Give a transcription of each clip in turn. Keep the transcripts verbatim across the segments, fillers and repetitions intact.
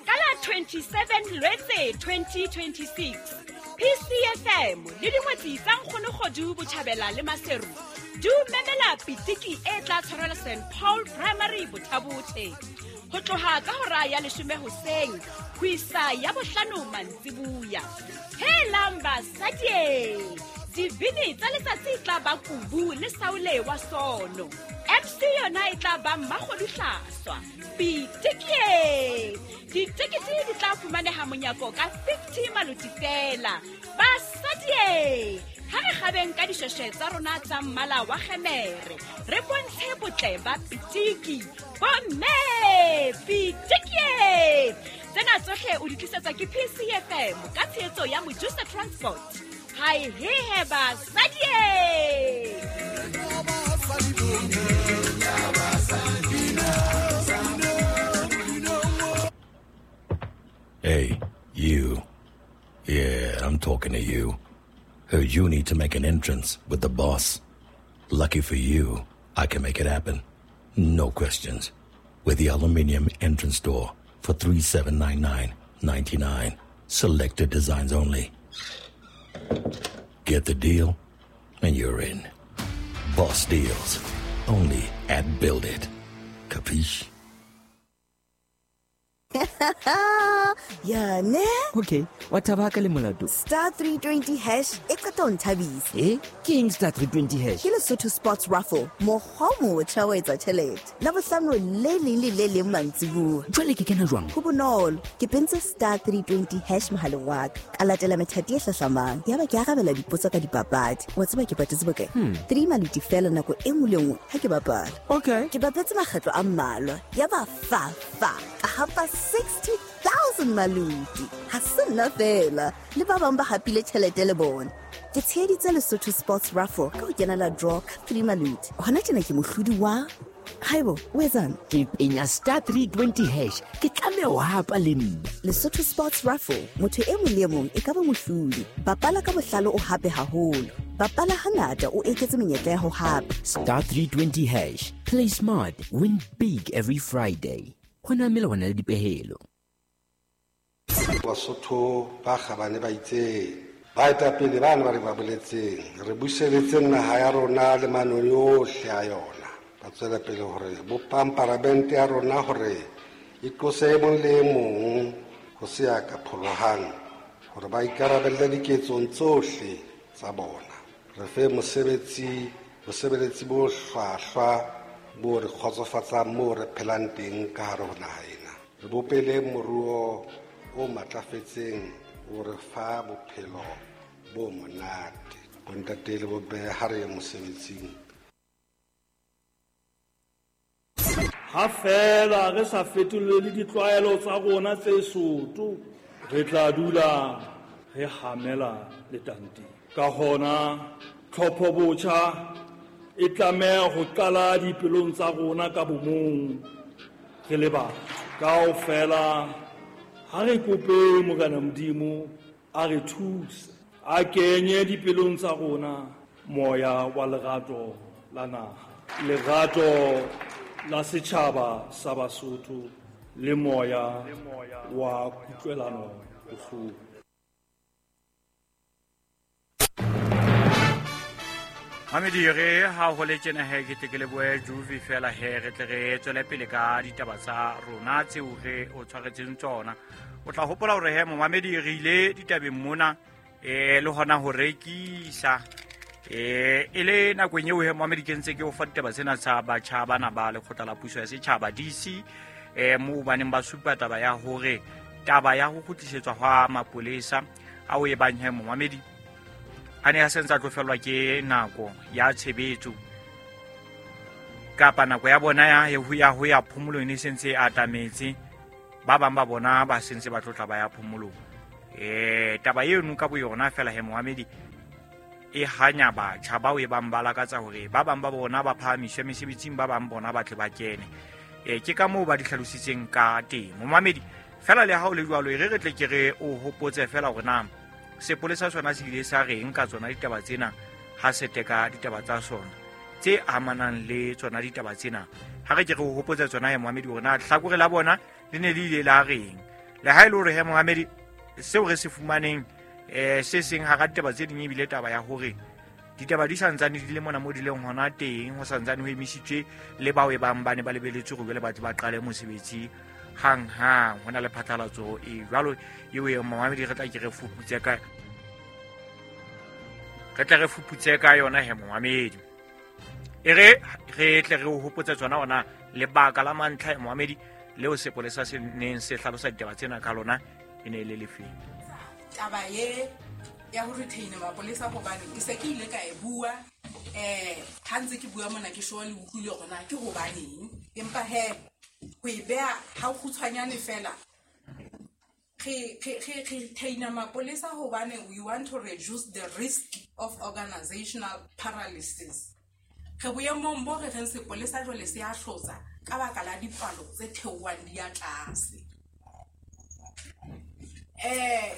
Ka la twenty-seven Lwetse twenty twenty-six, P C F M le dingwetsi tsa Nkgono Kgodu Botjhabela le Maseru di o memela pitiki e tla tshwarelwa Saint Paul Primary Bothabothe. Ho tloha ka hora ya leshome hoseng ho isa ya bohlano mantsibuya. Helang basadi! Dibini tsa letsatsi e tla ba Kubu le Saule wa Sono. M C yona e tla ba Mmakgodu Hlaswa. Pitiki! Ditekete di tla fumaneha monyako ka fifty maloti fela. Basadi! Ha re kgabeng ka dishweshwe tsa rona tsa mmala wa kgemere, re bontshe botle ba pitiki. Bomme, pitiki! Tsena tsohle o di tlisetswa ke P C F M ka tshehetso ya Mojusa Transport. Hai he he basadi! Hey, you. Yeah, I'm talking to you. Heard you need to make an entrance with the boss. Lucky for you, I can make it happen. No questions. With the aluminium entrance door for three seven nine nine ninety-nine. Selected designs only. Get the deal, and you're in. Boss deals. Only at Build It. Capiche? Ya ne? Okay, wa thaba ka le molato. Star three twenty hash e qeta ho nthabisa. Eh? Ke eng star three twenty hash? Ke Lesotho Sports Raffle. Mokgwa o motjha wa etsa tjhelete. Labohlano le leng le le leng mantsibuya. Jwale ke kena jwang? Ho bonolo. Ke pentse star three twenty hash mohaleng wa ka. Ka latela methati e hlahlamang. Yaba ke arabela dipotso ka dipapadi. Wa tseba ke patetse bokae? Hmm. Three maluti fela nako e nngwe le nngwe ha ke bapala. Okay. Ke bapetse makgetlo a mmalwa. Yaba fa fa. Ka hapa sixty thousand maluti. Ha se nna fela. Le ba bang ba hapile tjhelete le bona. Ke tsheheditse Lesotho Sports Raffle ka ho kenela draw ka three maluti. Hona tjena ke mohlodi wa Haibo, o etsang? Ke penya star three twenty hash. Ke tlameha ho hapa le nna. Lesotho Sports Raffle, motho e mong le e mong e ka ba mohlodi. Bapala ka bohlale o hape haholo. Bapala hangata o eketse menyetla ya ho hapa. Star three twenty hash. Play smart, win big every Friday. Hona melawana le dipehelo. Basotho ba kgabane ba itseng baetapele bana ba re ba boletseng re buseletse naha ya rona le manoni ohle a yona. Ba tswela pele hore bopang paramente ya rona hore e tlose e mong le e mong ho se ya ka pholohang hore ba ikarabelle diketsong tsohle tsa bona. Re fe mosebetsi bosebeletsi bo hlwahlwa bo re kgotsofatsang moo re phelang teng ka hare ho naha ena. Re bopele moruo o matlafetseng o re fa bophelo bo monate. Bontate le bomme ha re ye mosebetsing. Ha fela re sa fetolele ditlwaelo tsa rona tse soto, re tla dula re hamela letanteng. Ka hona tlhopho botjha e tlameha ho qala dipelong tsa rona ka bomong re le batho. Kaofela ha re kope Morena Modimo a re thuse, a kenye dipelong tsa rona moya wa lerato la naha, lerato la setjhaba sa Basotho le moya wa kutlwelano bohloko. Mamedi re ha ho le tjena he ke tle ke lebohe Juve fela he re tle re tswele pele ka ditaba tsa rona tseo re o tshwaretseng tsona. O tla hopola hore he momamedi re ile ditabeng mona eh le hona ho rekisa eh e le nakong eo he momamedi ke ntse ke o fa ditaba tsena tsa batjha bana ba lekgotla la puso ya setjhaba D C eh moo ba neng ba supa taba ya hore taba ya ho kgutlisetswa hwa mapolesa a o e bang he momamedi a ne a sentse a tlo fellwa ke nako ya tshebetso kapa nako ya bona ya ho ya ho ya phomolong e sentse e atametse. Ba bang ba bona ba sentse ba tlotla ba ya phomolong. Eh taba eno ka boyona fela he momamedi e hanya batjha bao e bang ba lakatsa hore ba bang ba bona ba phahamiswe mesebetsing, ba bang bona ba tle ba kene. Eh ke ka moo ba di hlalositseng ka teng momamedi. Fela le ha o le jwalo e re re tle ke re o hopotse fela hore na sepolesa sona se ile sa reng ka tsona ditaba tsena ha se teka ditaba tsa sona tse amanang le tsona ditaba tsena. Ha re ke re o hopotse tsona he momamedi hore na hlakore la bona le ne le ile la reng. Le ha e le hore he momamedi seo re se fumaneng eh se seng hara ditaba tse ding ebile taba ya hore ditaba di santsane di le mona mo di leng hona teng, ho santsane ho emisitswe le bao e bang ba ne ba lebeletse hore jwale ba tle ba qale mosebetsi hang hang. Ho na le phatlalatso e jwalo eo e momamedi re tla ke re fuputse ka re tla re fuputse ka yona he momamedi. E re re tle re o hopotse tsona ona lebaka la mantlha e momamedi leo sepolesa se neng se hlalosa ditaba tsena ka lona e ne e le lefeng. Taba ye ya ho retain mapolesa hobane ke se ke ile ka e bua eh ha ntse ke bua mona ke sure le utlwile hore na ke hobaneng, empa he ho e beha ha kgutshwanyane fela re re re retain mapolesa hobane we want to reduce the risk of organizational paralysis. Re boemong bo re reng sepolesa jwale se a hlotsa ka baka la dipalo tse theohang di ya tlase. Eh,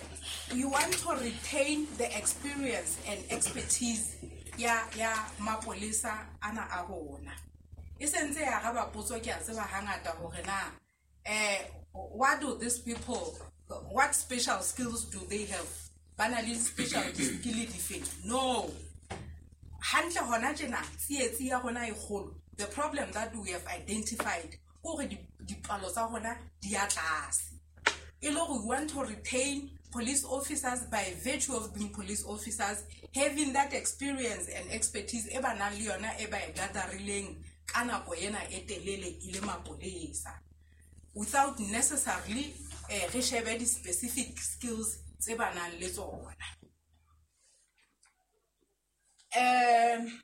we want to retain the experience and expertise ya ya mapolesa ana a rona. E sentse ya araba potso ke a tseba hangata hore na eh what do these people, what special skills do they have? Ba na le special skill dife? No. Hantle hona tjena tsietsi ya rona e kgolo. The problem that we have identified hore dipalo tsa rona di ya tlase. E le hore we want to retain police officers by virtue of being police officers, having that experience and expertise e ba nang le yona e ba e gatherileng ka nako ena e telele e le mapolesa, without necessarily eh re shebe di specific skills tse ba nang le tsona. Um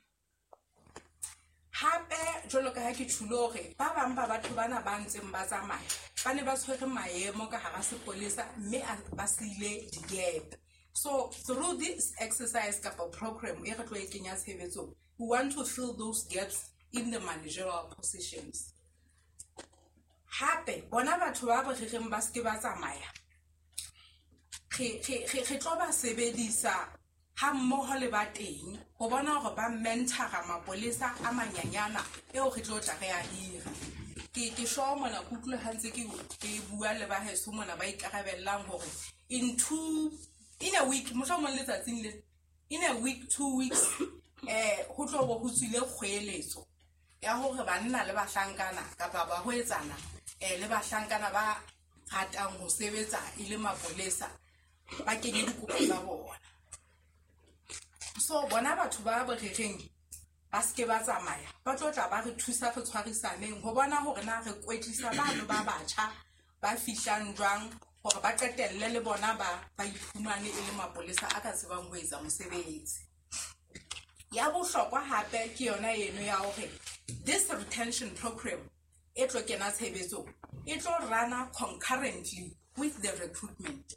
hape jwalo ka ha ke tjhulo hore ba bang ba batho bana ba ntseng ba tsamaya ba ne ba tshwere maemo ka hara sepolesa mme ba siile di-gap. So through this exercise kapa program e re tlo e kenya tshebetsong, we want to fill those gaps in the managerial positions. Hape bona batho ba ba rereng ba seke ba tsamaya re re re tlo ba sebedisa ha mmoho le ba teng ho bona hore ba mentora mapolesa a manyanyana eo re tlo tla re a hira. Ke ke sure mona ke utlwile ha ntse ke ke bua le ba heso mona ba ikarabellang hore in two in a week mohlomong letsatsing le in a week two weeks eh ho tlo bo ho tswile kgweletso ya hore banna le bahlankana kapa ba hoetsana eh le bahlankana ba ratang ho sebetsa e le mapolesa ba kenye dikopo tsa bona. So bona batho ba borereng ba seke ba tsamaya ba tlo tla ba re thusa re tshwarisaneng ho bona hore na re kwetlisa bano ba batjha ba fihlang jwang hore ba qetelle le bona ba ba iphumane e le mapolesa a ka tsebang ho etsa mosebetsi. Ya bohlokwa hape ke yona eno ya hore this retention program e tlo kena tshebetsong e tlo rana concurrently with the recruitment.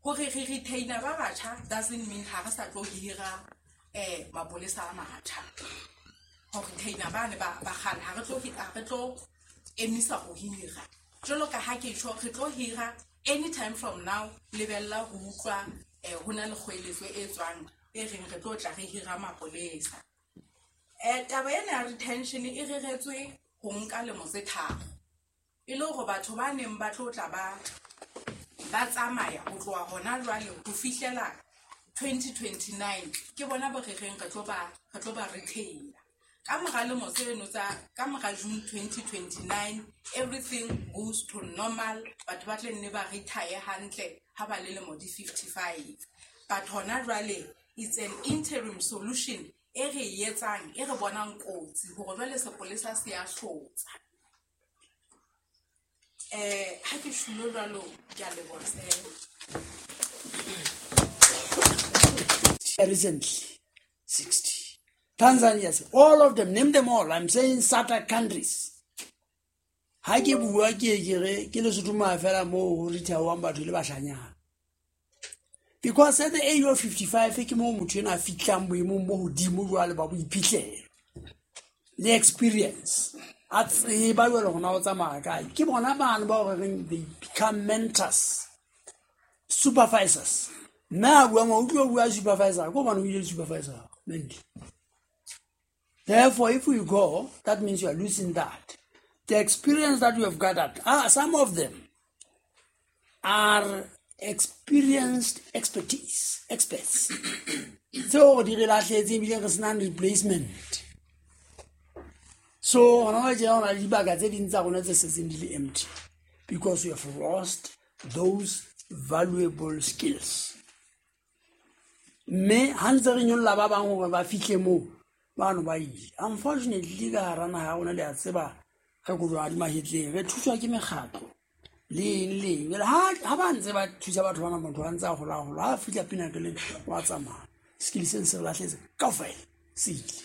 Hore re retainer ba batjha doesn't mean ha re sa tlo hira eh mapolesa a matjha. Ho retainer ba ne ba ba kgale ha re tlo ha re tlo emisa ho hira. Jwalo ka ha ke tjho re tlo hira anytime from now lebella ho utlwa eh ho na le kgweletso e tswang e reng re tlo tla re hira mapolesa. Eh taba ena ya retention e reretswe ho nka lemo tse tharo. E le hore batho ba neng ba tlo tla ba ba tsamaya ho tloha hona jwale ho fihlela twenty twenty-nine ke bona bo rereng re tlo ba re tlo ba retain. Ka mora lemo tseno tsa ka mora June twenty twenty-nine everything goes to normal, batho ba tle nne ba retire hantle ha ba le lemo di fifty-five. But hona jwale it's an interim solution e re etsang e re bonang kotsi hore jwale sepolesa se a hlotsa. Eh ha ke shulo jwalo ke a leboha. Recently sixty Tanzania, all of them, name them all. I'm saying SADC countries. Ha ke bua ke ke re ke Lesotho ma fela mo ho rithawang batho le bashanyana. Because at the age of fifty-five ke mo motho ena a fihlang boemong bo hodimo jwale ba boiphihlelo le experience. A tseba jwale hore na o tsamaya kae. Ke bona bana ba hore reng they become mentors, supervisors. Mme a bua mo utlwa bua supervisor, ko bana o ile supervisor. Therefore, if we go, that means you are losing that. The experience that we have gathered, ah, some of them are experienced expertise, experts. Tseo di re lahlehetseng ebile re senang replacement. So hona jwale tjena ho na le dibaka tse ding tsa rona tse setseng di le empty because we have lost those valuable skills. Mme ha ntse re nyolla ba bang hore ba fihle moo, bano ba ile. Unfortunately, ka hara naha ya rona le a tseba re kojwa di mahetleng, re thuswa ke mekgatlo le eng le eng. Jwale ha, ha ba ntse ba thusa batho bana, motho a ntse a hola hola, ha fihla pinakeleng wa tsamaya. Skill se se re lahlehetse kaofela se ile.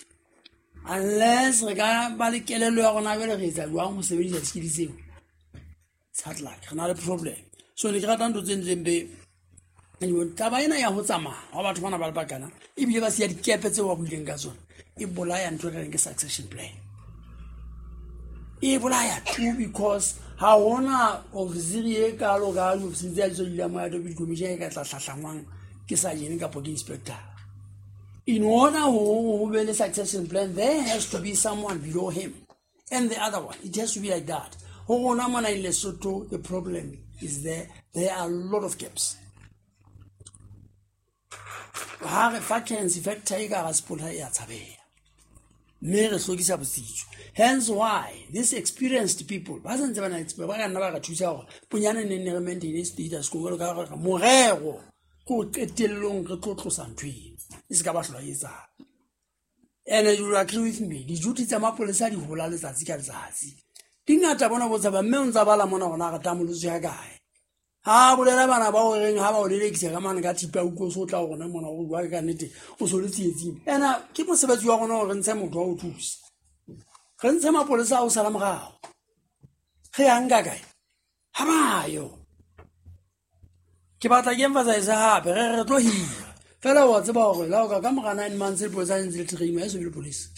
Unless re ka ba le kelello ya rona jwale re etsa jwang ho sebedisa skill tseo, it's hard luck, re na le problem. So ne ke rata ntho tse ntleng be anyway, taba ena ya ho tsamaya ha batho bana ba le bakana ebile ba siya dikepe tseo ba buileng ka tsona, e bolaya ntho e re reng ke succession plan. E bolaya too, because ha hona ofisiri e kalo ka diofisiri tse tse di moya deputy commissioner e ka tla hlahlangwang ke sergeant kapa ke inspector. In order ho be le succession plan, there has to be someone below him and the other one. It has to be like that. Ho rona mona in Lesotho, the problem is there, there are a lot of gaps. Ha re vacancy factor e ka hara sepolesa e a tshabeha, mme re hlokisa botsitso. Hence why these experienced people ba santse ba na le ba ka nna ba re thusa hore bonyane neng ne re maintain status quo jwalo ka hore morero ke ho qetellong re tlo tlosa ntho eno e se ka ba hlola e etsahala. And you will agree with me, diduty tsa mapolesa di hola letsatsi ka letsatsi. Di ngata bona bo tshaba, mme o ntsa bala mona hona re tamolotswe ya kae. Ha bolela bana ba o reng ha ba o lelekisa ka mane ka thipa o so tla rona mona o bua ka nnete o so le tsietsing. Ena ke mosebetsi wa rona hore re ntshe motho wa ho thusa. Re ntshe mapolesa a o sala morao. Re ya nka kae? Ha ba yo. Ke batla ke emphasize hape re re tlo hira. Fela wa tseba hore la o ka ka mora nine months le polisa ntse le train ya so be le police.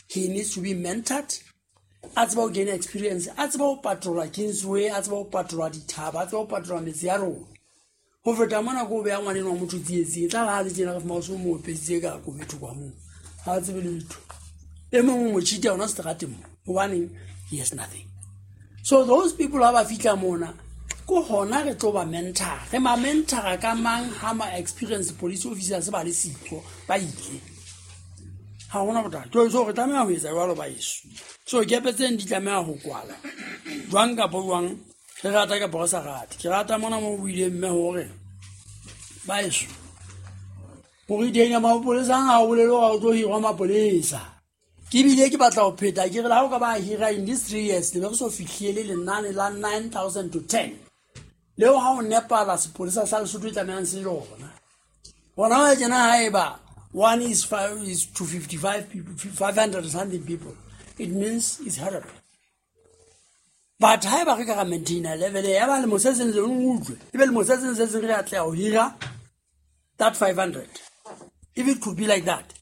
He needs to be mentored. A tseba ho gain experience, a tseba ho patrola Kingsway, a tseba ho patrola dithaba, a tseba ho patrola metse ya rona. Ho feta mona ko beha ngwaneno wa motho tsietsing, e tla re ha le tjena re fumana o so mo opeditse ka kobetho kwa moo. Ha a tsebe letho. E mong o mo cheat-a hona seterateng mo, hobaneng he has nothing. So those people ha ba fihla mona, ko hona re tlo ba mentor. Re ma mentor-a ka mang ha ma experience police officers ba le siko, ba ile. Ha hona bothata. So re tlameha ho etsa jwalo ba heso. So kepe tseno di tlameha ho kwala. Jwang kapa jwang, re rata kapa re sa rate. Ke rata mona mo buileng mme hore ba heso, hore teng ya mapolesa ha o bolele hore o tlo hirwa mapolesa. Ke bile ke batla ho pheta ke re le ha o ka ba hira in these three years, le be re so fihlile lenane la nine thousand to ten. Leo ha o nepala sepolesa sa Lesotho e tlamehang se lona. Hona wa tjena haeba one is five is to fifty-five people, five hundred something people, it means it's horrible. But haeba re ka ra maintain level ya ba lemo se seng le utlwe, ebe lemo se seng se seng re atleha ho hira that five hundred. If it could be like that,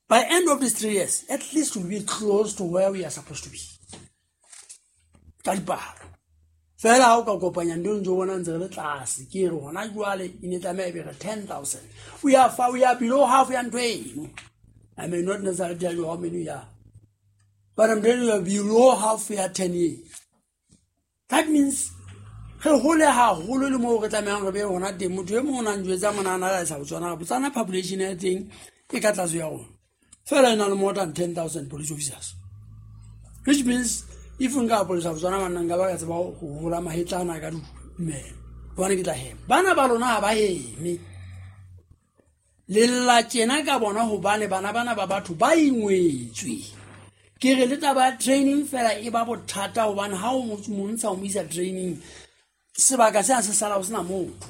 by end of these three years, at least we'll be close to where we are supposed to be. Ka dipalo. Fela ha o ka kopanya ntho ntse o bona ntse re le tlase, ke re hona jwale e ne tlameha e be re ten thousand. We are far, we are below half ya ntho eno. I may not necessarily tell you how many we are, but I'm telling you we are below half ya ten years. That means re hole haholo le moo re tlamehang re be hona teng. Motho e mong o na njwetsa mona a na le sa Botswana, Botswana population ya teng e ka tlase ya rona. Fela e na le more than ten thousand police officers, which means if nka polisa Botswana banna nka ba ka tseba ho hola mahetla ana ka dumela, hobane ke tla hema. Bana ba lona ha ba heme. Lella tjena ka bona hobane bana bana ba batho ba ingwetswe. Ke re le taba ya training fela e ba bothata hobane ha o montsha o mo isa training, sebaka se a se sala ho sena motho.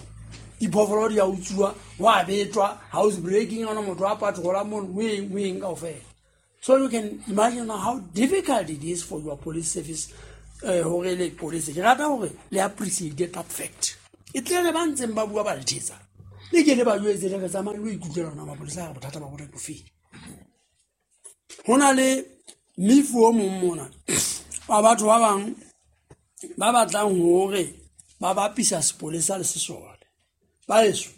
Diphoofolo di a utsuwa, wa betwa, house breaking, ona motho a patrola mono, o eng, o eng kaofela. So you can imagine how difficult it is for your police service, eh, hore le police. Ke rata hore le appreciate that fact. E tle re ba ntseng ba bua ba le thetsa. Le ke le ba jwetse le re tsamayang le ikutlwela rona mapolesa a bothata ba bona bo feng. Ho na le mefu o mong mona wa batho ba bang ba batlang hore ba bapisa sepolesa le sesole. Ba heso,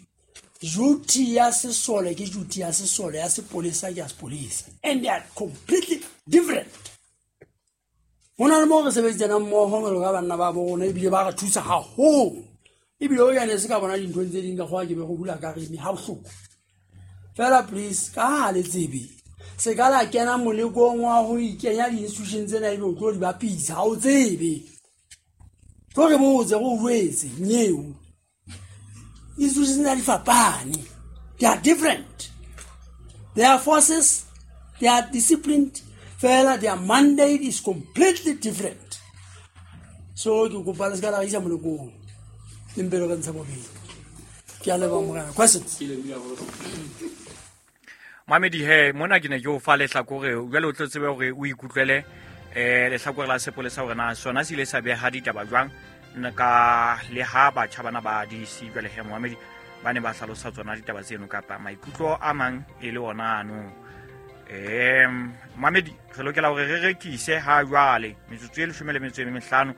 duty ya sesole ke duty ya sesole, ya sepolesa ke ya sepolesa, and they are completely different. Ho na le moo re sebetsanang mmoho jwalo ka banna ba bo rona, ebile ba re thusa haholo. Ebile o yane se ka bona dinthong tse ding ka kgowa ke be go dula ka reme ha bohloko. Fela please, ka ha le tsebe, se ka la kena molekong wa ho ikenya di-institution tsena ebe o tlo di bapisa, ha o tsebe. Tlo re botse, re o jwetse, nyeo. Institutions tsena di fapane. They are different. They are forces, they are disciplined. Fela their mandate is completely different. So ke kopa le se ka la re isa molekong. Le mpe le re ntshe bobedi. Ke a leboha morena. Questions? Mamedi he, mona ke ne ke o fa lehlakore, jwale o tlo tsebe hore o ikutlwele eh lehlakore la sepolesa hore na sona se ile sa beha ditaba jwang ka le ha batjha bana ba D C jwale he Mohamedi ba ne ba hlalosa tsona ditaba tseno kapa maikutlo a mang e le ona ano. Em Mohamedi re lokela hore re rekise ha jwale metsotso e leshome le metso e mehlano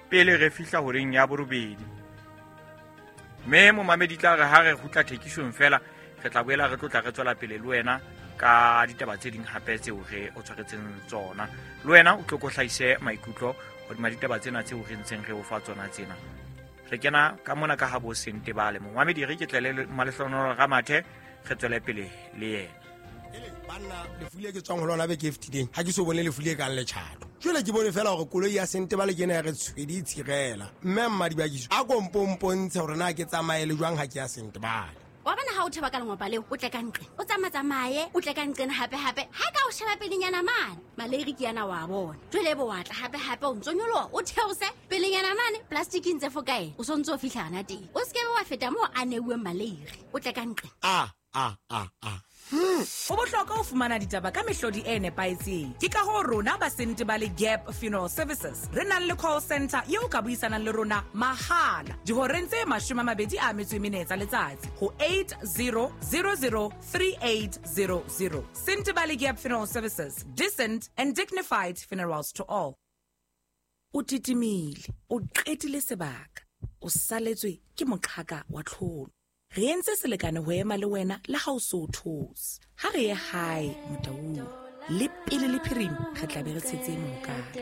pele re fihla horeng ya borobedi. Mme Mohamedi tla re ha re kgutla thekisong fela re tla boela re tlotla re tswela pele le wena ka ditaba tse ding hape tseo re o tshwaretseng tsona. Le wena o tlo ko hlahise maikutlo hodima ditaba tsena tseo re ntseng re o fa tsona tsena. Re kena ka mona ka ha bo Sentebale. Mohamedi re ke tlele Malehlohonolo Ramathe re tswele pele le yena. Banna lefu le ke tswang ho lona beke e fetileng ha ke so bone lefu le kang letjhato. Jwale ke bone fela hore koloi ya Sentebale ke ena ya re tshwedi e tshirela. Mme Mmadibakiso a ko mpompontshe hore na ke tsamaye le jwang ha ke ya Sentebale. Wa bona ha o theba ka lengopa leo, o tle ka nqe. O tsamatsamaye, o tle ka nqena hape hape. Ha ka o sheba pelenyana mane, maleiri ke yana wa bona. Jwale bo wa tla hape hape o ntso nyoloha, o theose pelenyana mane, plastic e ntse fo kae. O sontso o fihla hana teng. O se ke wa feta moo a neuweng maleiri. O tle ka nqe. Ah ah ah ah. Ho bohlokwa ho fumana ditaba ka mehlodi e nepahetseng. Ke ka hoo rona ba Sentebale Gap Funeral Services re nang le call center eo ka buisanang le rona mahala dihoreng tse mashome a mabedi a metso e mene tsa letsatsi ho eight zero zero zero three eight zero zero. Sentebale Gap Funeral Services, decent and dignified funerals to all. O titimile, o qetile sebaka, o saletswe ke moqhaka wa tlholo. Re entse selekane ho ema le wena le ha o so those. Ha re ye hae Motaung, le pele le phirima re tla be re tshetse mohokare.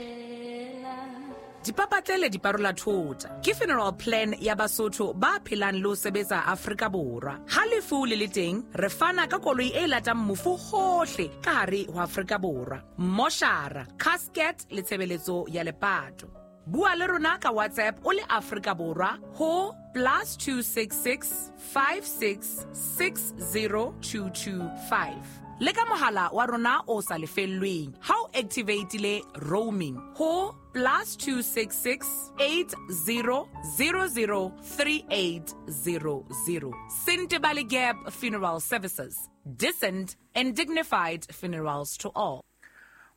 Dipapatlele di parola thota ke funeral plan ya Basotho ba phelang le ho sebetsa Afrika Borwa. Ha lefu le le teng, re fana ka koloi e latang mofu hohle ka hare ho Afrika Borwa. Moshara, casket le tshebeletso ya lepato. Bua le rona ka WhatsApp o le Afrika Borwa ho plus two six six five six six zero two two five. Le ka mohala wa rona o sa lefellweng ha o activate-ile roaming ho plus two six six eight zero zero zero three eight zero zero. Sentebale Gap Funeral Services, decent and dignified funerals to all.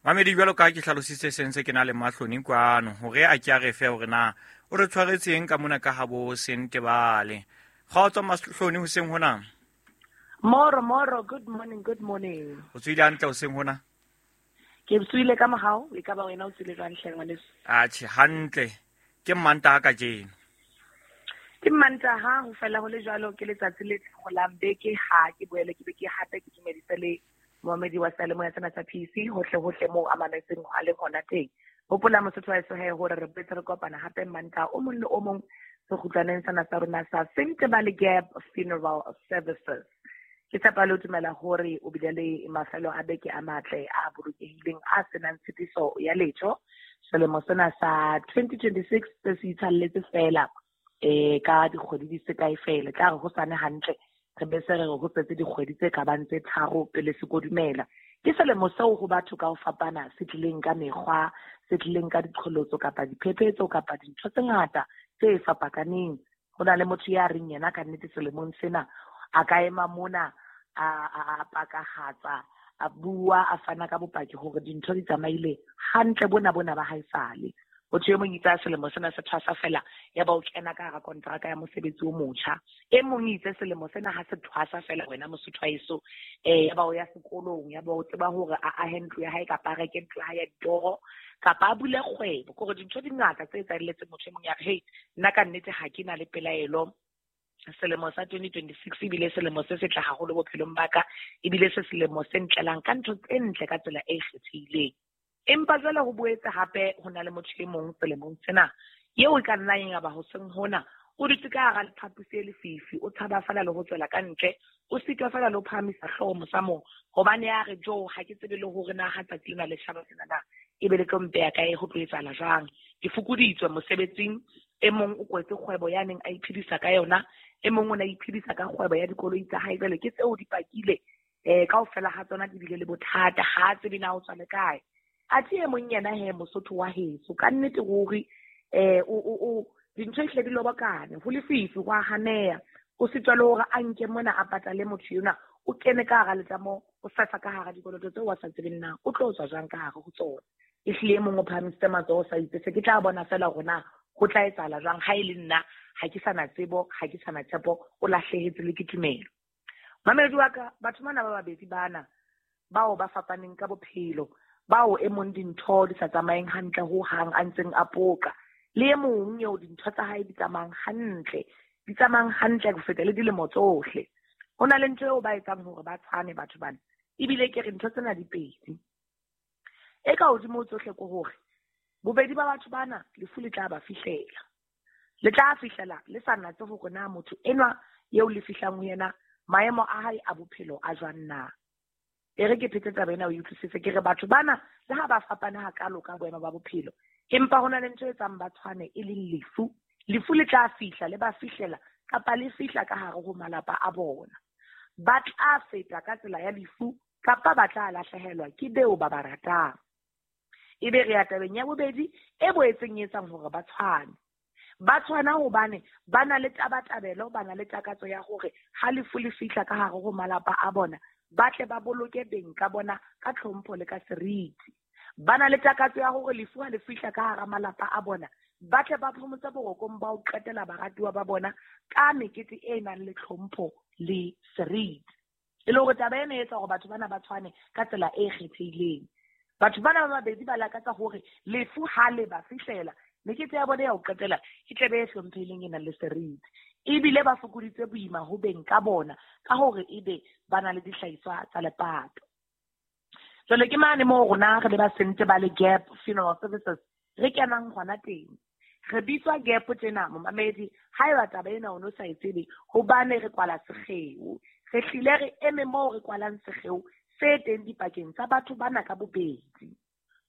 Mamedi jwalo ka ke hlalositse sentse ke na le Mahloni kwano hore a ke a re fe hore na o re tshwaretseng ka mona ka ha bo Sentebale. Kgotso Mahloni hoseng hona. Moro moro, good morning, good morning. O tswile hantle hoseng hona? Ke tswile ka mohau, e ka ba wena o tswile jwang hle ngwaneso? Atjhe, hantle. Ke Mantaha kajeno. Ke Mantaha, ho fela ho le jwalo ke letsatsi le kgolang beke ha ke boele ke be ke hape ke dumedise le Mohamedi wa seyalemoya sena sa P C hohle hohle moo a mametseng a leng hona teng. Hopola Mosotho wa heso he hore re boetse re kopana hape Mantaha o mong le o mong sekgutlwaneng sena sa rona sa Sentebale Gap Funeral Services. Ke tshepa le ho dumela hore o bile le mafelo a beke a matle a bolokehileng a senang tshitiso ya letho. Selemo sena sa twenty twenty-six se se itshalletse fela eh ka dikgwedi di se kae fela. Tla re ho sane hantle re be se re ho setse dikgwedi tse ka bang tse tharo pele se kodumela. Ke selemo seo ho batho ka ho fapana se tlileng ka mekgwa, se tlileng ka diqholotso kapa diphephetso kapa dintho tse ngata tse fapakaneng. Ho na le motho ya reng yena ka nnete selemong sena a ka ema mona a a pakahatsa a bua a fana ka bopaki hore dintho di tsamaile hantle bona bona ba haesale. Motho e mong itse a selemo sena se thwasa fela ya ba o kena ka hara kontraka ya mosebetsi o motjha. E mong itse selemo sena ha se thwasa fela wena Mosotho wa heso, eh ya ba o ya sekolong, ya ba o tseba hore a ahe ntlo ya hae kapa a reke ntlo ya hae ya ditoro kapa a bule kgwebo. Ke hore dintho di ngata tse etsahelletseng motho e mong ya re, hey, nna ka nnete ha ke na le pelaelo. Selemo sa twenty twenty-six ebile selemo se setle haholo bophelong ba ka, ebile se selemo se ntlelang ka ntho tse ntle ka tsela e kgethehileng. Empa jwale ho boetse hape ho na le motho e mong selemong sena eo e ka nnang ya ba hoseng hona o dutse ka hara phaposi e lefifi, o tshaba fela le ho tswela ka ntle, o sitwa fela le ho phahamisa hlooho mosamong, hobane ya re jo ha ke tsebe le hore na ha tsatsi lena le tjhaba sena na ebe le tlo mpeya kae, ho tlo etsahala jwang. Ke fokoditswe mosebetsing, e mong o kwetse kgwebo ya neng a iphedisa ka yona, e mong o ne a iphedisa ka kgwebo ya dikoloi tsa hae, jwale ke tseo di pakile eh kaofela ha tsona di bile le bothata, ha tsebe na o tswa le kae. Athe e mong yena he Mosotho wa heso ka nnete ruri eh o o o dintho ehlile di lobokane, ho lefifi, ho a haneha, o sitwa le hore a nke mona a patale motho yona, o kene ka hara letlamo, o fefa ka hara dikoloto tseo wa sa tsebeng na o tlo tswa jwang ka hare ho tsona. Ehlile e mong o phahamisitse matsoho sa itse se ke tla bona fela hore na ho tla etsahala jwang, ha e le nna ha ke sa na tsebo, ha ke sa na tshepo, o lahlehetse le ke tumelo. Mamedi wa ka, batho bana ba babedi bana bao ba fapaneng ka bophelo, bao e mong dintho di sa tsamayeng hantle ho hang a ntseng a poka, le e mong eo dintho tsa hae di tsamayang hantle, di tsamayang hantle ho feta le dilemo tsohle. Ho na le ntho eo ba etsang hore ba tshwane batho bana, ebile ke re ntho tsena di pedi. E ka hodimo ho tsohle ke hore bobedi ba batho bana lefu le tla ba fihlela, le tla fihlela le sa natse hore na motho enwa eo le fihlang ho yena maemo a hae a bophelo a jwang na. E re ke phete taba ena o e utlwisise, ke re batho bana le ha ba fapana hakalo ka boemo ba bophelo, empa ho na le ntho e etsang ba tshwane e leng lefu. Lefu le tla fihla le ba fihlela kapa le fihla ka hare ho malapa a bona. Ba tla feta ka tsela ya lefu kapa ba tla lahlehelwa ke beo ba ba ratang. Ebe re ya tabeng ya bobedi e boetseng e etsang hore ba tshwane. Ba tshwana hobane ba na le tabatabelo, ba na le takatso ya hore ha lefu le fihla ka hare ho malapa a bona, ba tle ba boloke beng ka bona ka tlhompho le ka seriti. Ba na le takatso ya hore lefu ha le fihla ka hara malapa a bona, ba tle ba phomotse borokong ba ho qetela baratuwa ba bona ka mekete e nang le tlhompho le seriti. E le hore taba ena e etsa hore batho bana ba tshwane ka tsela e kgethehileng. Batho bana ba babedi ba lakatsa hore lefu ha le ba fihlela, mekete ya bona ya ho qetela e tle be e hlomphehileng e nang le seriti. Ebile ba fokoditse boima ho beng ka bona ka hore ebe ba na le dihlahiswa tsa lepato. Jwale ke mane moo rona re le ba Sente ba le Gap Funeral Services re kenang hona teng. Re bitswa Gap tjena momamedi, haeba taba ena o no sa e tsebe, hobane re kwala sekgeo. Re hlile re eme moo re kwalang sekgeo se teng dipakeng tsa batho bana ka bobedi.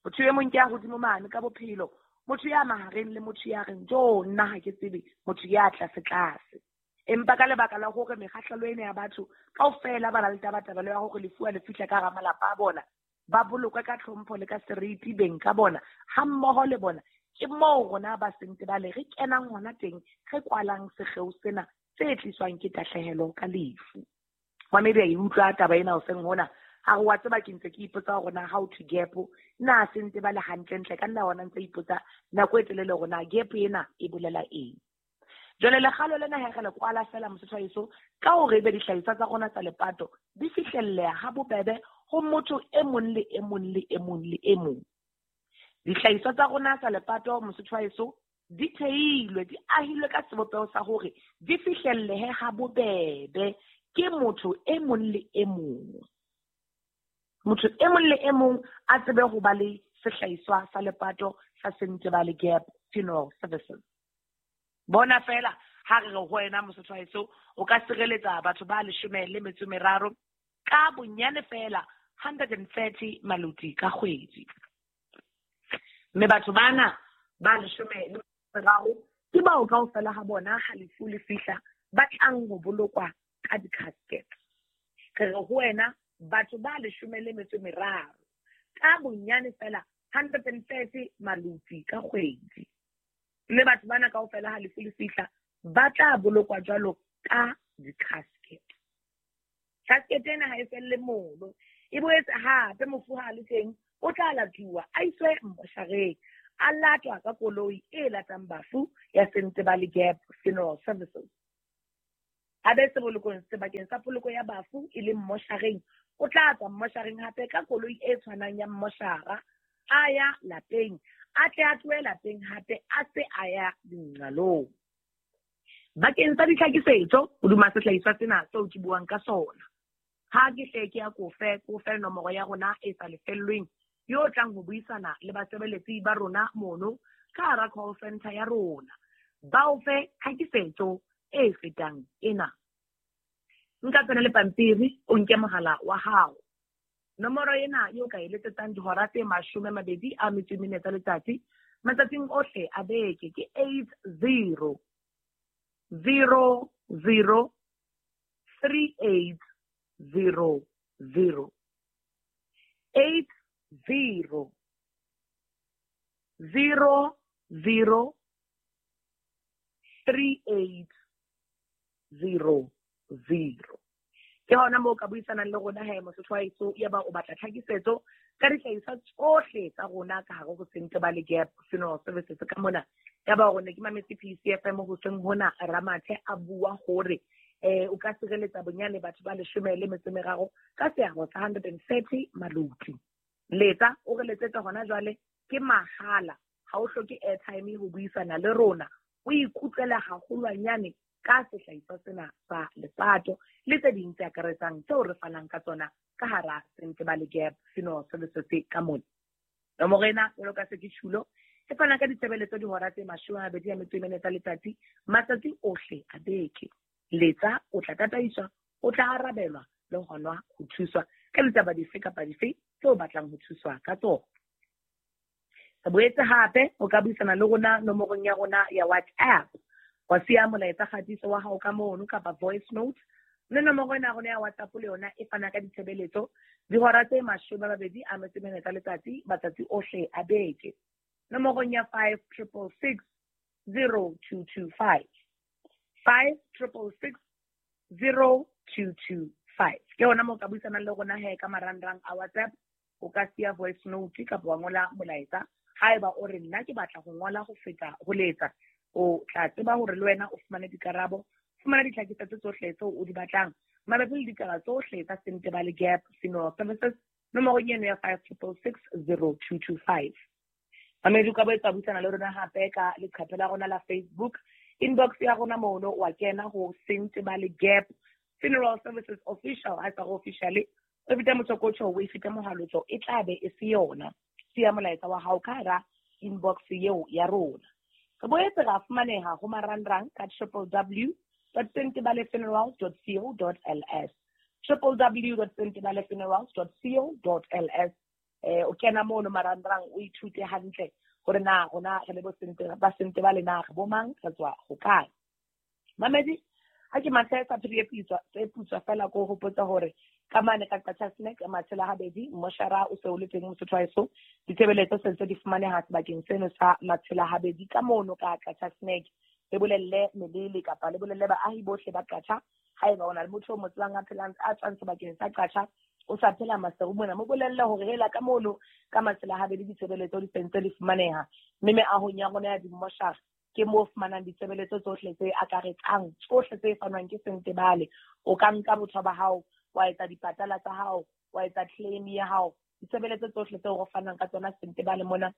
Motho e mong ke ya hodimo mane ka bophelo, motho ya mahareng le motho ya reng jo nna ha ke tsebe, motho ya tlase tlase. Empa ka lebaka la hore mekgahlelo ena ya batho kaofela ba na le tabatabelo ya hore lefu ha le fihla ka hara malapa a bona, ba bolokwe ka tlhompho le ka seriti beng ka bona hammoho le bona. Ke moo rona ba Sente ba le re kenang hona teng, re kwalang sekgeo sena se tliswang ke tahlehelo ka lefu. Mamedi a e utlwa taba ena hoseng hona, ha re wa tseba ke ntse ke ipotsa hore na how to gap na Sente ba le hantlentle, ka nna hona ntse ipotsa nako e telele hore na gap ena e bolela eng. Jwale lekgalo lena ha re le kwala fela Mosotho wa heso ka hore ebe dihlahiswa tsa rona tsa lepato di fihlelleha ha bobebe ho motho e mong le e mong le e mong le e mong. Dihlahiswa tsa rona tsa lepato Mosotho wa heso di theilwe, di ahilwe ka sebopeho sa hore di fihlellehe ha bobebe ke motho e mong le e mong. Motho e mong le e mong a tsebe ho ba le sehlahiswa sa lepato sa Sente ba le Gap Funeral Services. Bona fela ha re re ho wena Mosotho wa heso o ka sireletsa batho ba leshome le metso meraro ka bonyane fela hundred and thirty maluti ka kgwedi. Mme batho bana ba leshome le meraro ke bao kaofela ha bona ha lefu le fihla ba tlang ho bolokwa ka di-casket. Re re ho wena batho ba leshome le metso meraro ka bonyane fela hundred and thirty maluti ka kgwedi. Mme batho bana kaofela ha lefu le fihla ba tla bolokwa jwalo ka di-casket. Casket ena ha e felle mono, e boetse hape mofu ha le teng o tla latuwa a iswe moshareng, a latwa ka koloi e latang bafu ya Sente ba le Gap Funeral Services. A be sebolokong sebakeng sa poloko ya bafu e leng moshareng, o tla tswa moshareng hape ka koloi e tshwanang ya moshara a ya lapeng, a tle a tlohe lapeng hape a se a ya dinqalong. Bakeng sa ditlhakisetso hodima sehlahiswa sena seo ke buang ka sona, ha ke hle ke ya kofe kofe nomoro ya rona e sa lefellweng yo tlang ho buisana le basebeletsi ba rona mono ka hara call center ya rona. Ba o fe tlhakisetso e fetang ena. Nka tsena le pampiri o nke mohala wa hao. Nomoro ena eo ka e letsetsang dihora tse mashome a mabedi a metso e mene tsa letsatsi matsatsing ohle a beke ke eight zero zero zero three eight zero zero eight zero zero zero three eight zero zero. Ke hona moo ka buisanang le rona he Mosotho wa heso, ya ba o batla tlhakisetso ka dihlahiswa tsohle tsa rona ka hare ho Sentebale Gap Funeral Services ka mona. Ya ba hore ne ke mametse P C F M hoseng hona Ramathe a bua hore eh o ka sireletsa bonyane batho ba leshome le metso e meraro ka seabo sa one hundred thirty maluti. Letsa o re letsetse hona jwale, ke mahala, ha o hloke airtime ho buisana le rona, o ikutlwela haholwanyane ka sehlahiswa sena sa lepato le tse ding tse akaretsang tseo re fanang ka tsona ka hara Sentebale Gap Funeral Services ka mona. Nomoro ena jwalo ka se ke tjhulo e fana ka ditshebeletso dihora tse mashome a mabedi a metso e mene tsa letsatsi matsatsi ohle a beke. Letsa o tla tataiswa, o tla arabelwa le hona ho thuswa ka ditaba dife kapa dife tseo o batlang ho thuswa ka tsona. Re boetse hape o ka buisana le rona nomorong ya rona ya WhatsApp. Wa siya molaetsa kgatiso wa hao ka mono kapa voice note. Mme nomoro ena ya rona ya WhatsApp le yona e fana ka ditshebeletso dihora tse mashome a mabedi a metso e mene tsa letsatsi matsatsi ohle a beke. Nomorong ya five triple six zero two two five. five triple six zero two two five. Ke hona moo ka buisanang le rona he ka marangrang a WhatsApp. O ka siya voice note kapa wa ngola molaetsa. Haeba o re nna ke batla ho ngola ho feta ho letsa, o tla tseba hore le wena o fumane dikarabo, fumana ditlhakisetso tsohle tseo o di batlang mabapi le ditaba tsohle tsa Sentebale Gap Funeral Services nomorong eno ya five triple six zero two two five. Mamedi o ka boetsa buisana le rona hape ka leqephe la rona la Facebook. Inbox ya rona mono wa kena ho Sentebale Gap Funeral Services Official. Ha sa go officially o feta motsokotjho o e feta mohalotso e tla be e se yona. Siya molaetsa wa hao ka hara inbox eo ya rona. Re boetse ra fumaneha ho marangrang ka triple w dot sentebale funerals dot co dot l s, triple w dot sentebale funerals dot co dot l s. Eh o kena mono marangrang o ithute hantle hore na rona re le bo sente ba Sentebale na re bo mang, re tswa hokae. Mamedi ha ke mathe sa phiri e putswa e putswa fela ko hopotsa hore ka mane ka Qacha's Nek matshela habedi moshara o se o le teng Mosotho wa heso. Ditshebeletso se ntse di fumaneha sebakeng seno sa matshela habedi ka mono ka Qacha's Nek. Le bolelle melele kapa le bolelle baahi bohle ba Qacha. Haeba o na le motho o mo tsebang a phelang a tswang sebakeng sa Qacha o sa phela Maseru mona, mo bolelle hore hela ka mono ka matshela habedi ditshebeletso di sentse di fumaneha. Mme meahong ya rona ya dimoshara ke moo fumanang ditshebeletso tsohle tse akaretsang tsohle tse fanwang ke Sentebale. O ka nka botho ba hao wa etsa dipatala tsa hao, wa etsa claim ya hao, ditshebeletso tsohle tseo re fanang ka tsona Sentebale mona.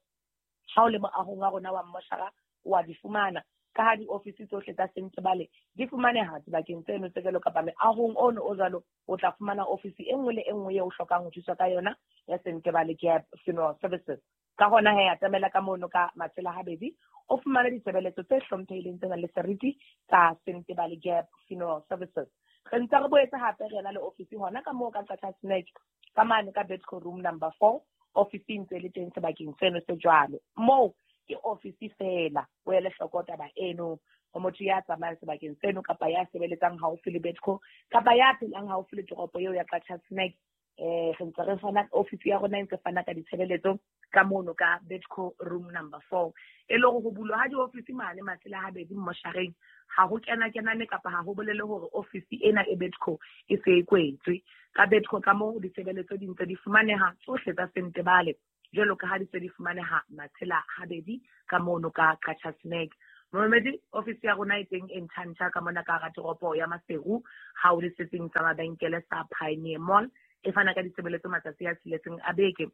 Ha o le moahong wa rona wa mmoshara wa di fumana, ka ha diofisi tsohle tsa Sentebale di fumaneha dibakeng tseno tse jwalo kapa meahong ono o jwalo, o tla fumana ofisi e nngwe le e nngwe eo o hlokang ho thuswa ka yona ya Sentebale Gap Funeral Services. Ka hona he atamela ka mono ka matshela habedi o fumane ditshebeletso tse hlomphehileng tse nang le seriti tsa Sentebale Gap Funeral Services. Re ntse re boetse hape re na le ofisi hona ka moo ka Qacha's Nek ka mane ka Bedco room number four, ofisi ntse le teng sebakeng seno se jwalo. Moo ke ofisi fela, o ele hloko taba eno ho motho ya tsamayang sebakeng seno kapa ya sebeletsang haufi le Bedco kapa ya phelang haufi le toropo eo ya Qacha's Nek. Eh re ntse re fana ofisi ya rona e ntse fana ka ditshebeletso ka mono ka Bedco room number four. E le hore ho bulwa ha diofisi mane matshela habedi mmoshareng ha ho kena kenane kapa ha ho bolele hore ofisi ena e Bedco e se e kwetswe. Ka Bedco ka moo ditshebeletso di ntse di fumaneha tsohle tsa Sentebale jwalo ka ha di se di fumaneha matshela habedi ka mono ka Qacha's Nek. Momedi ofisi ya rona e teng e ntjhantjha ka mona ka hara toropo ya Maseru ha o le setsing sa mabenkele sa Pioneer Mall. E fana ka ditshebeletso matsatsi a tsheletseng a beke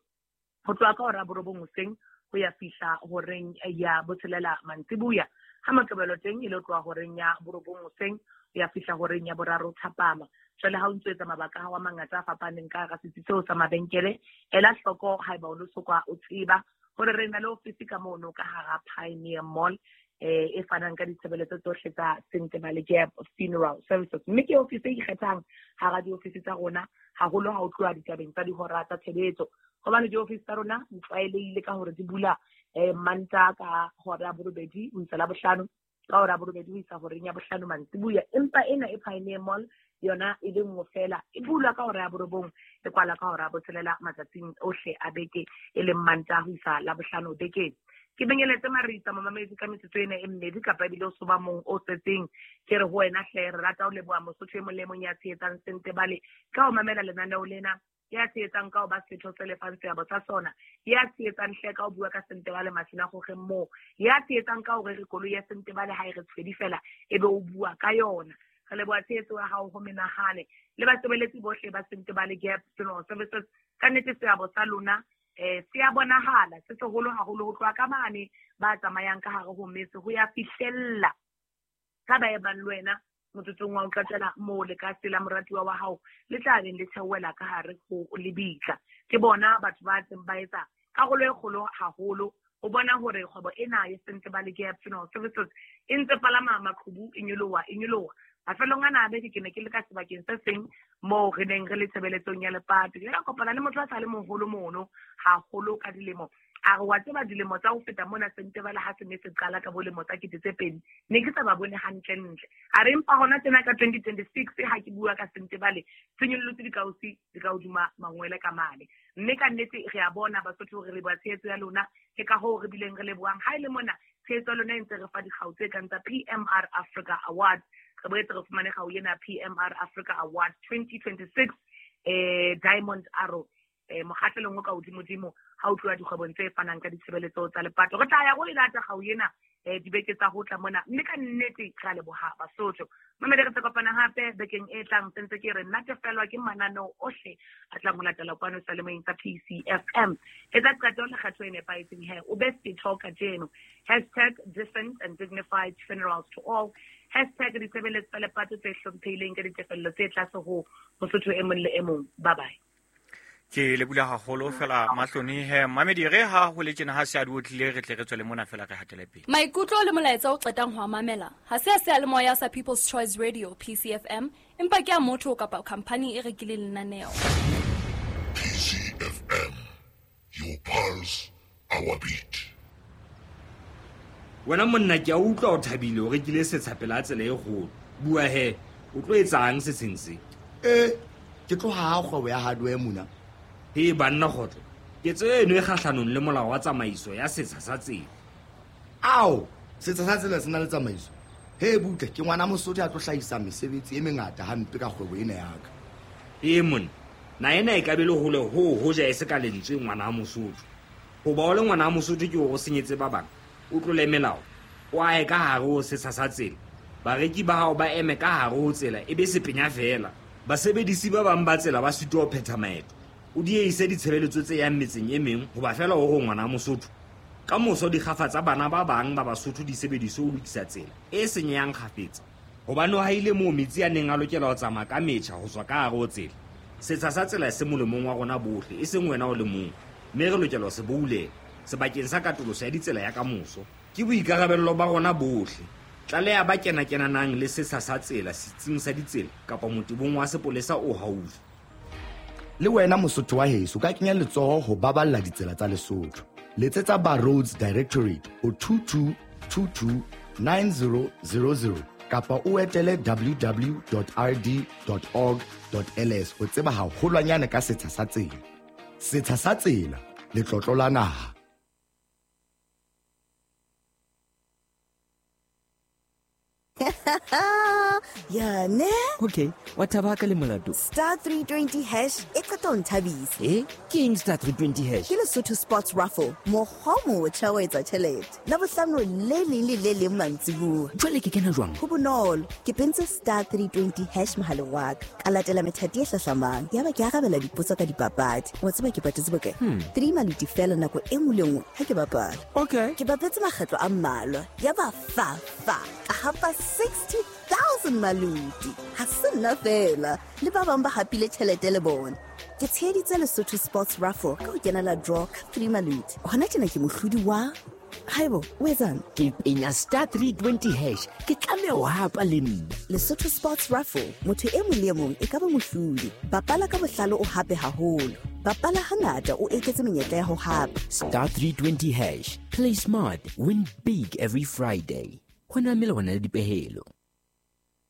ho tloha ka hora ya borobong hoseng ho ya fihla horeng ya botshelela mantsibuya. Ha Moqebelo teng e le tloha horeng ya borobong hoseng ho ya fihla horeng ya boraro thapama. Jwale ha o ntso etsa mabaka a hao a mangata a fapaneng ka hara setsi seo sa mabenkele, ela hloko haeba o lo soka o tseba hore re na le ofisi ka mono ka hara Pioneer Mall eh e fanang ka ditshebeletso tsohle tsa Sentebale Gap Funeral Services. Mme ke ofisi e ikgethang hara diofisi tsa rona, haholo ha o tloha ditabeng tsa dihora tsa tshebetso, hobane diofisi tsa rona di tlwaelehile ka hore di bula eh Mantaha ka hora ya borobedi ho isa Labohlano, ka hora ya borobedi ho isa horeng ya bohlano mantsibuya. Empa ena e Pioneer Mall yona e le nngwe fela, e bulwa ka hora ya borobong, e kwala ka hora ya botshelela matsatsing ohle a beke, e leng Mantaha ho isa Labohlano bekeng. Ke benyeletse Marisa momamedi ka metsotso ena e mmedi kapa ebile o soba mong o setseng. Ke re ho wena hle, re rata ho leboha Mosotho e mong le mong ya tshehetsang Sentebale ka ho mamela lenaneo lena, ya tshehetsang ka ho ba setho se lefang seabo sa sona, ya tshehetsang hle ka ho bua ka Sentebale masinagogeng moo, ya tshehetsang ka hore re koloi ya Sentebale ha e re tshwedi fela e be o bua ka yona. Re leboha tshehetso ya hao ho menahane le basebeletsi bohle ba Sentebale Gap Funeral Services. Ka nnete seabo sa lona eh se a bonahala, se seholo haholo ho tloha ka mane ba tsamayang ka hare ho metse ho ya fihlella ka ba e bang le wena motsotsong wa ho qetela moo le ka tsela moratuwa wa hao le tla beng le theohela ka hare ho lebitla. Ke bona batho ba tseng ba etsa karolo e kgolo haholo ho bona hore kgwebo ena ya Sentebale Gap Funeral Services e ntse palama maqhubu, e nyoloha e nyoloha. Mafelong ana a beke ke ne ke le ka sebakeng se seng moo re neng re le tshebeletsong ya lepato. Ke ile ka kopana le motho a sa le moholo mono haholo ka dilemo. A re wa tseba dilemo tsa ho feta mona Sentebale ha se ne se qala ka bolemo tsa kete tse pedi, ne ke sa ba bone hantlentle. A re empa hona tjena ka twenty twenty-six ha ke bua ka Sentebale, se nyollotse dikausi di ka hodima mangwele ka mane. Mme ka nnete re a bona Basotho hore re leboha tshehetso ya lona, ke ka hoo re bileng re lebohang. Ha e le mona tshehetso ya lona e ntse re fa dikgau tse kang tsa P M R Africa Awards. Re boetse re fumane kgau ena P M R Africa Award twenty twenty-six eh Diamond Arrow eh mokgahlelong o ka hodimodimo ha o tloha dikgwebong tse fanang ka ditshebeletso tsa lepato. Re tla ya go e lata kgau ena eh dibeke tsa ho tla mona, mme ka nnete re a leboha Basotho. Mamedi, re tla kopana hape bekeng e tlang. Sentse ke re natefelwa ke mananeo ohle a tlang ho latela kwano seyalemoyeng sa P C F M. Etsa qeto le kgetho e nepahetseng he, o be setho kajeno. Hashtag decent and dignified funerals to all. Hashtag ditshebeletso tsa lepato tse hlomphehileng ka ditefello tse tlase ho Mosotho e mong le e mong. Bye bye. Ke lebula haholo fela Mahloni he mamedi, re ha ho le tjena ha se a di otlile, re tle re tswele mona fela re hatele pele. Maikutlo le molaetsa o qetang ho a mamela ha se a seyalemoya sa People's Choice Radio P C F M, empa ke a motho kapa khampani e rekileng lenaneo. P C F M, your pulse, our beat. Wena monna ke a utlwa o thabile o rekile setsha pela tsela e kgolo. Bua he, o tlo etsang setsheng se? Eh, ke tloha ha kgwebo ya hardware mona. He banna kgotlo, ketso eno e kgahlanong le molao wa tsamaiso ya setsha sa tsela. Ao, setsha sa tsela se na le tsamaiso. He butle, ke ngwana Mosotho a tlo hlahisa mesebetsi e mengata hampe ka kgwebo ena ya ka. Ee monna, na ena e ka be le hole ho hoja e se ka lentswe ngwana Mosotho. Hoba o le ngwana Mosotho ke hore o senyetse ba bang, o tlole melao, o ahe ka hare ho setsha sa tsela. Bareki ba hao ba eme ka hare ho tsela e be sepenya fela. Basebedisi ba bang ba tsela ba sitwa ho phetha maeto. O dieise ditshebeletso tse yang metseng e meng hoba fela o re ngwana Mosotho. Ka moso dikgafa tsa bana ba bang ba Basotho di sebediswe ho lokisa tsela e senyehang kgafetsa. Hobane ha ile moo metsi a neng a lokela ho tsamaya ka metjha ho tswa ka hare ho tsela. Setsha sa tsela se molemong wa rona bohle, e seng wena o le mong. Mme re lokela ho se boulela sebakeng sa katoloso ya ditsela ya kamoso. Ke boikarabello ba rona bohle. Tlaleha ba kena-kenanang le setsha sa tsela setsing sa ditsela kapa motebong wa sepolesa o haufi. Le wena Mosotho wa heso ka kenya letsoho ho baballa ditsela tsa Lesotho. Letsetsa ba Roads Directorate ho two two two two nine zero zero zero kapa o etele w w w dot r d dot org dot l s ho tseba haholwanyane ka setsha sa tsela. Setsha sa tsela, letlotlo la naha. Ya ne? Okay, wa thaba ka le molato. Star three twenty hash e qeta ho nthabisa. Eh, ke eng star three twenty hash? Ke Lesotho Sports Raffle, mokgwa o motjha wa etsa tjhelete. Labohlano le leng le le leng mantsibuya. Jwale ke kena jwang? Ho bonolo, ke pentse star three twenty hash mohaleng wa ka. Ka latela methati e hlahlamang. Yaba ke arabela dipotso ka dipapadi. Wa tseba ke patetse bokae? Hmm. Three maluti fela nako e nngwe le nngwe ha ke bapala. Okay. Ke bapetse makgetlo a mmalwa. Yaba fa fa. Ka hapa sixty thousand thousand maluti. Ha se nna fela, le ba bang ba hapile tjhelete le bona. Ke tsheheditse Lesotho Sports Raffle ka ho kenela draw ka three maluti. Hona tjena ke mohlodi wa Haibo, o etsang? Ke penya star three twenty hash. Ke tlameha ho hapa le nna. Lesotho Sports Raffle, motho e mong le e mong e ka ba mohlodi. Bapala ka bohlale o hape haholo. Bapala hangata o eketse menyetla ya ho hapa. Star three twenty hash. Play smart, win big every Friday. Ho na melawana le dipehelo.